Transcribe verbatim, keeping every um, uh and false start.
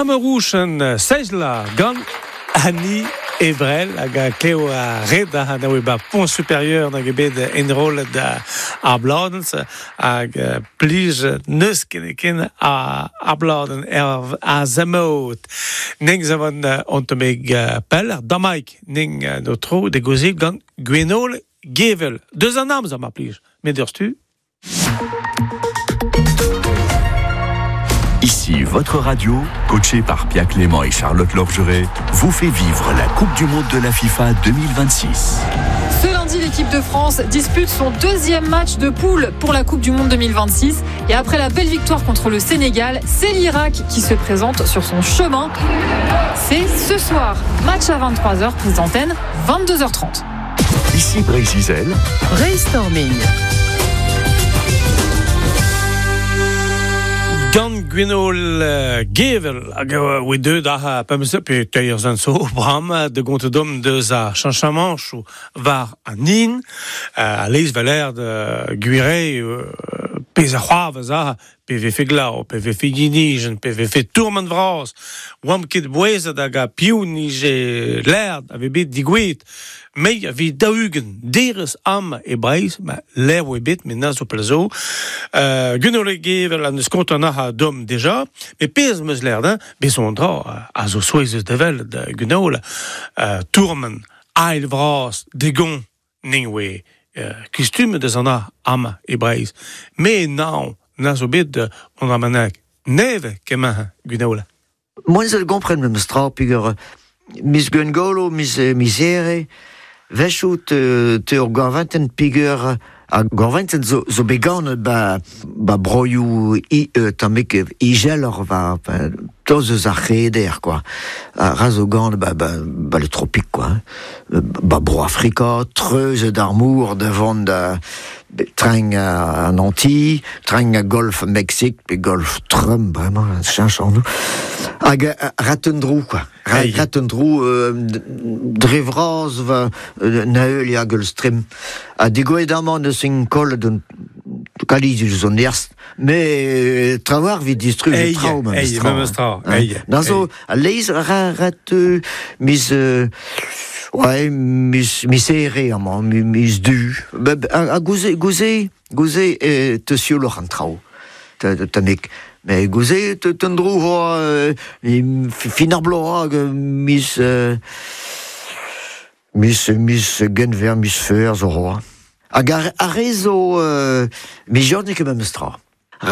Amerouchen seizla gant Annie Ebrel hag a kleo a red a na oe ba pont supérieur nag ebet enrollet da ar bladens hag plij neus ken ken a ar bladen er a zamot. Ning zavan ontomeg pel ar damaik ning no tro de gozik gant Gwenole Gevel. Deus an amzer mar plij. Met ur stu. Ici, votre radio, coachée par Pierre Clément et Charlotte Lorgeret, vous fait vivre la Coupe du Monde de la FIFA deux mille vingt-six. Ce lundi, l'équipe de France dispute son deuxième match de poule pour la Coupe du Monde deux mille vingt-six. Et après la belle victoire contre le Sénégal, c'est l'Irak qui se présente sur son chemin. C'est ce soir, match à vingt-trois heures, prise d'antenne, vingt-deux heures trente. Ici Brésil. Brainstorming. Gant Gwenole Gevel hag oe deux da pemse pe teir zan so bram de gonte dom deus a chanchamanchou var an in a leiz valer de guire pez a c'hoavez a pe vefe glao, pe vefe yinijen, pe vefe tourment vras, oam ket bouezet hag a piou nije lerd ave bet digouet, mei a vi daougen derez am e Breiz, ma l'air oe bet, met na zo pel zo. Euh, Gwenole Gevel an eus kontant a dom deja, me pez meus lerd, hein, bez on dra, a zo souezet devel de Gwenole, euh, tourment, ail vras, degon, ning oe, euh, kustume deus an a am e Breiz. Me naon, na zo bet on a manak neve kemañ Gwenole. Moi ze gompren me stra piger mis Gwengolo, mis misere, vechou te te ur gorventen piger a gorventen zo zo began ba ba broioù i tammik igelor va toz eus ar c'heder quoi. A ra zo gant ba ba ba le tropique quoi. Ba bro Afrika, treuz d'armour devant da train à Nantes, train à Golfe Mexique, puis Golfe Trump, vraiment, change en nous. Hag ratendrou, quoi. Ratendrou, drevraz, va, naeul ya Gulfstream. A digoedamant eus en kol d'un kaliz eus an erst, mais travar vi distruj trao, même stra. Na zo, a leiz ra rat mis... Ouais, mis misere amañ, mis du. A gouze, gouze, gouze e te sioloc'h an traoù. Tammik. Mais gouze te tendrou hoa fin ar bloaz mis mis mis genver mis feur zo hoa. Hag ar, ar re zo mis jornik e memes tra.